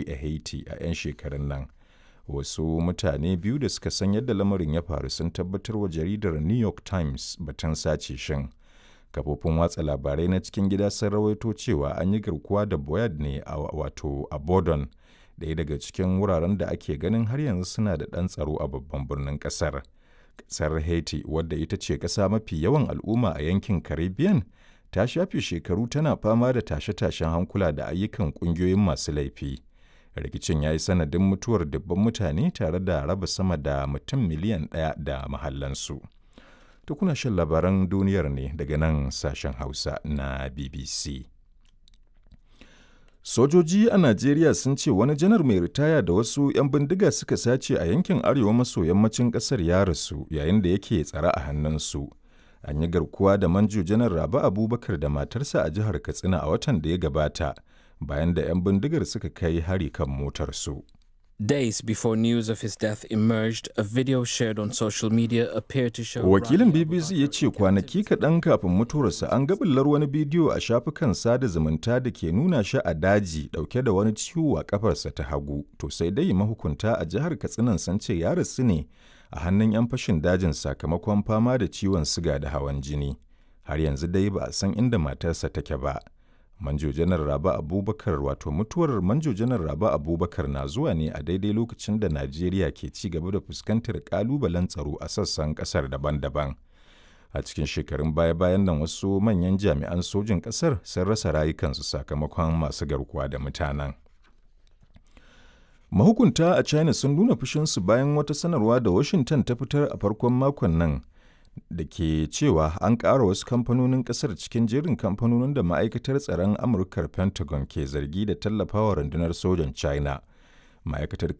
rikici a Haiti a 'yan shekarun nan. Wasu mutane biyu da suka san yadda lamarin ya faru sun tabbatar wa jaridar New York Times batun sace shin. Kafofin watsa labarai na cikin gida sun rawaito cewa an yi garkuwa da Boyard ne a wato a Bordon, ɗaya daga cikin wuraren da ake ganin har yanzu suna da ɗan tsaro a babban birnin ƙasar. Ƙasar Haiti, wadda ita ce ƙasa mafi yawan al'umma a yankin Caribbean, ta shafe shekaru tana fama da tashe-tashen hankula da ayyukan ƙungiyoyin masu laifi. Rikicin ya yi sanadin mutuwar dubban mutane tare da raba sama da mutum miliyan 1 da mahallansu. To kuna shan labaran duniyar ne daga nan sashen Hausa na BBC. Sojoji a Najeriya sun ce wani janar mai ritaya da wasu 'yan bindiga suka sace a yankin arewa maso yammacin ƙasar ya rasu yayin da yake tsare a hannunsu. An yi garkuwa da manjo janar Rabe Abubakar da matarsa a jihar Katsina a watan da ya gabata bayan da 'yan bindigar suka kai hari kan motarsu. Days before news of his death emerged, a video shared on social media appeared to show Wakilin Rabi BBC ya Abubakar ce kwanaki kaɗan kafin mutuwarsa an ga bullar wani bidiyo a shafukan sada zumunta da ke nuna shi a daji ɗauke da wani ciwo a ƙafarsa ta hagu. To sai dai mahukunta a jihar Katsinan sun ce ya rasu ne a hannun 'yan fashin dajin sakamakon fama da ciwon siga da hawan jini. Har yanzu dai ba a san inda matarsa take ba. Manjo Janar Rabe Abubakar wato mutuwar Manjo Janar Rabe Abubakar na zuwa ne a daidai lokacin da Najeriya ke ci gaba da fuskantar kalubalen tsaro a sassan kasar daban-daban. A cikin shekarun baya-bayan nan wasu manyan jami'an sojin kasar sun rasa rayukansu sakamakon masu garkuwa da mutanen. Mahukunta a China sun nuna fushinsu bayan wata sanarwa da Washington ta fitar a farkon makon nan da ke cewa an ƙara wasu kamfanonin ƙasar cikin jerin kamfanonin da ma'aikatar tsaron Amurkar Pentagon ke zargi da tallafawa rundunar sojan China. Ma'aikatar